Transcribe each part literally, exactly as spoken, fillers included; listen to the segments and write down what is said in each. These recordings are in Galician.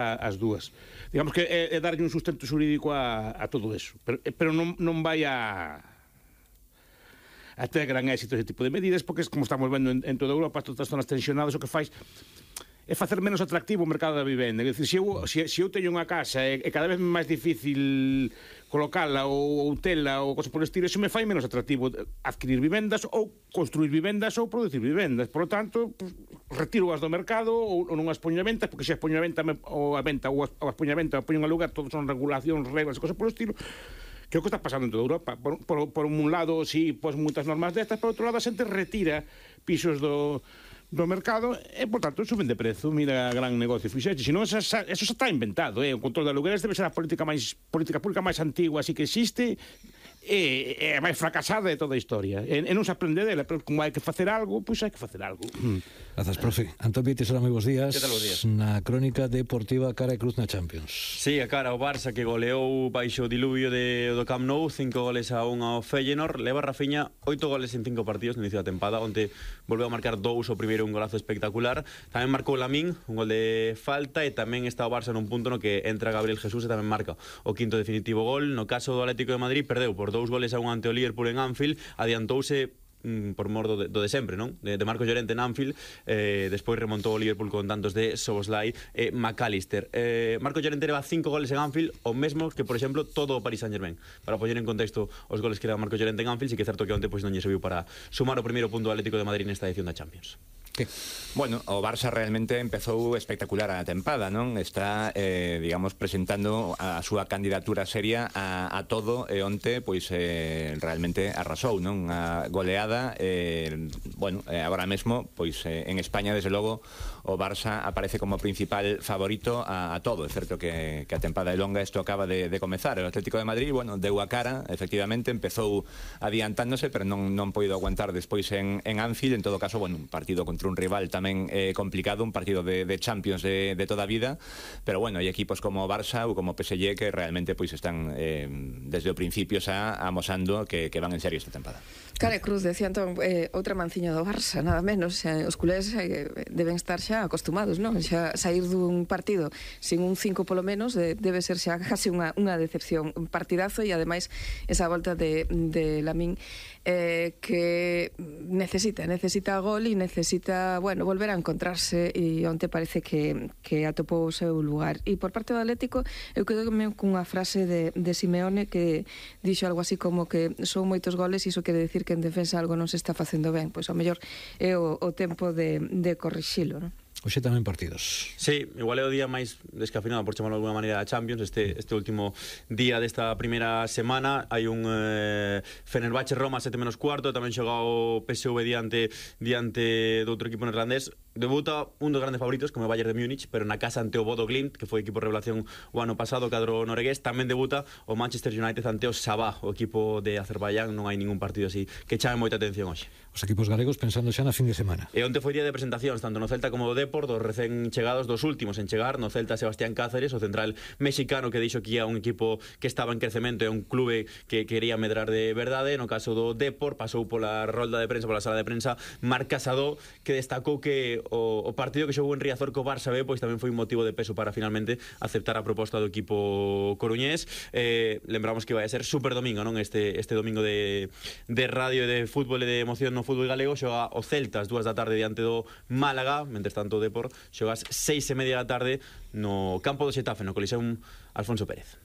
as dúas. Digamos que é, é darlle un sustento xurídico a, a todo eso, pero, pero non, non vai a a ter gran éxito ese tipo de medidas, porque como estamos vendo en, en toda Europa, todas as zonas tensionadas, o que fais é facer menos atractivo o mercado da vivenda. É dicir, se eu, se, se eu teño unha casa e, e cada vez máis difícil colocala ou, ou tela ou cosa por estilo, eso me fai menos atractivo adquirir vivendas ou construir vivendas ou producir vivendas. Por lo tanto, pues, retiro as do mercado ou, ou non as poño a venta, porque se as poño a venta me, ou a venta ou as, ou as poño a venta ou poño a lugar, todos son regulacións, reglas e cosas por estilo. Que é o que está pasando en toda Europa. Por, por, por un lado, sí, pues moitas normas destas, por outro lado, a xente retira pisos do, do mercado e, por tanto, suben de prezo. Mira a gran negocio fixeche. Se non, eso xa está inventado, eh? O control de alugueres debe ser a política máis política pública máis antigua así que existe e é máis fracasada de toda a historia. E, e non se aprende dela, pero como hai que facer algo, pois hai que facer algo. Grazas, profe. Antón Vieites, hola, moi bons días. Que tal, bons días? Na crónica deportiva cara e cruz na Champions. Sí, a cara o Barça que goleou baixo o diluvio de, do Camp Nou, cinco goles a un ao Feyenoord. Leva Rafinha oito goles en cinco partidos no inicio da tempada, onde volveu a marcar dous, o primeiro un golazo espectacular. Tamén marcou Lamín, un gol de falta, e tamén está o Barça nun punto no que entra Gabriel Jesús e tamén marca o quinto definitivo gol. No caso do Atlético de Madrid, perdeu por dous goles a un ante o Liverpool en Anfield, adiantouse mm, por mor do de, do de sempre, non? De, de Marcos Llorente en Anfield, eh, despois remontou o Liverpool con tantos de Szoboszlai e McAllister. Eh, Marcos Llorente leva cinco goles en Anfield, o mesmo que, por exemplo, todo o Paris Saint-Germain. Para poñer en contexto os goles que leva Marcos Llorente en Anfield, sí que é certo que onte pois non lle serviu para sumar o primeiro punto do Atlético de Madrid nesta edición da Champions. Que? Bueno, o Barça realmente empezou espectacular a tempada, non? Está, eh, digamos, presentando a súa candidatura seria a, a todo, e onte, pois, eh, realmente arrasou, non? A goleada, eh, bueno, eh, agora mesmo, pois, eh, en España, desde logo, o Barça aparece como principal favorito a, a todo. É certo que, que a tempada é longa, isto acaba de, de comezar. O Atlético de Madrid, bueno, deu a cara, efectivamente, empezou adiantándose, pero non, non poido aguantar despois en, en Anfield. En todo caso, bueno, un partido contra un rival tamén eh, complicado, un partido de, de Champions de, de toda a vida, pero bueno, hai equipos como Barça ou como P S G que realmente pois están eh, desde o principio xa amosando que, que van en serio esta tempada. Cara e cruz, decía Antón, eh, outra manciña do Barça, nada menos, xa, os culés eh, deben estar xa acostumados, non? Xa sair dun partido sin un cinco polo menos de, debe ser xa casi unha, unha decepción, un partidazo, e ademais esa volta de, de Lamín eh, que necesita, necesita gol e necesita, bueno, volver a encontrarse, e onte parece que, que atopou o seu lugar. E por parte do Atlético, eu quedo cunha frase de, de Simeone que dixo algo así como que son moitos goles e iso quere decir que en defensa algo non se está facendo ben. Pois ao mellor é o, o tempo de, de corrixilo, non? Hoxe tamén partidos. Sí, igual é o día máis descafeinado, por chamarlo de alguna maneira, a Champions. Este, este último día desta primeira semana hai un eh, Fenerbahce Roma sete menos cuarto, tamén xoga o P S V diante diante do outro equipo neerlandés. Debuta un dos grandes favoritos, como o Bayern de Múnich, pero na casa ante o Bodo Glimt, que foi equipo revelación o ano pasado, cadro noruegués. Tamén debuta o Manchester United ante o Sabah, o equipo de Azerbaiyán. Non hai ningún partido así que chame moita atención hoxe. Os equipos galegos pensando xa na fin de semana. E onte foi día de presentacións, tanto no Celta como no Depor, dos recén chegados, dos últimos en chegar. No Celta, Sebastián Cáceres, o central mexicano que dixo que ia un equipo que estaba en crecemento e un clube que quería medrar de verdade. No caso do Depor, pasou pola rolda de prensa, pola sala de prensa, Marc Casado, que destacou que o, o partido que xogou en Riazor co Barça B, pois tamén foi un motivo de peso para finalmente aceptar a proposta do equipo coruñés. Eh, lembramos que vai a ser super domingo, non? Este, este domingo de, de radio e de fútbol e de emoción no fútbol galego. Xoga o Celta as dúas da tarde diante do Málaga, mentres tanto o Depor xoga as seis e media da tarde no campo do Xetafe, no Coliseum Alfonso Pérez.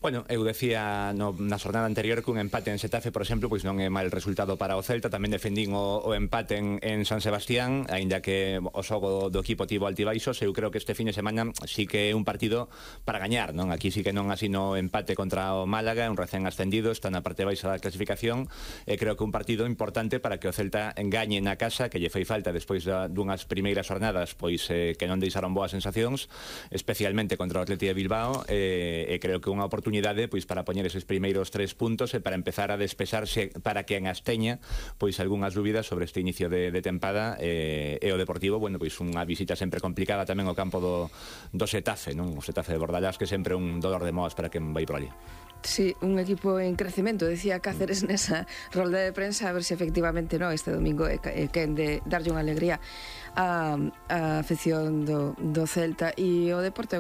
Bueno, eu decía no, na xornada anterior que un empate en Xetafe, por exemplo, pois non é mal resultado para o Celta. Tamén defendín o, o empate en, en San Sebastián, aínda que o xogo do equipo tivo altibaixos. Eu creo que este fin de semana sí que é un partido para gañar, non? Aquí sí que non así no empate contra o Málaga, un recén ascendido, está na parte baixa da clasificación, e creo que un partido importante para que o Celta engañe na casa, que lle fai falta despois da, dunhas primeiras jornadas, pois eh, que non deixaron boas sensacións, especialmente contra o Athletic de Bilbao, e, e creo que unha oportunidade pois para poñer eses primeiros tres puntos e para empezar a despexarse, para que en Asteña pois algunhas dúbidas sobre este inicio de, de tempada, e, e o Deportivo, bueno, pois unha visita sempre complicada tamén ao campo do, do Xetafe, non? O Xetafe de Bordalás, que sempre é un dolor de moas para quen vai por ali. Sí, un equipo en crecemento, decía Cáceres nesa rolda de prensa, a ver se efectivamente no, este domingo é quen de darlle unha alegría a, a afección do, do Celta. E o deporte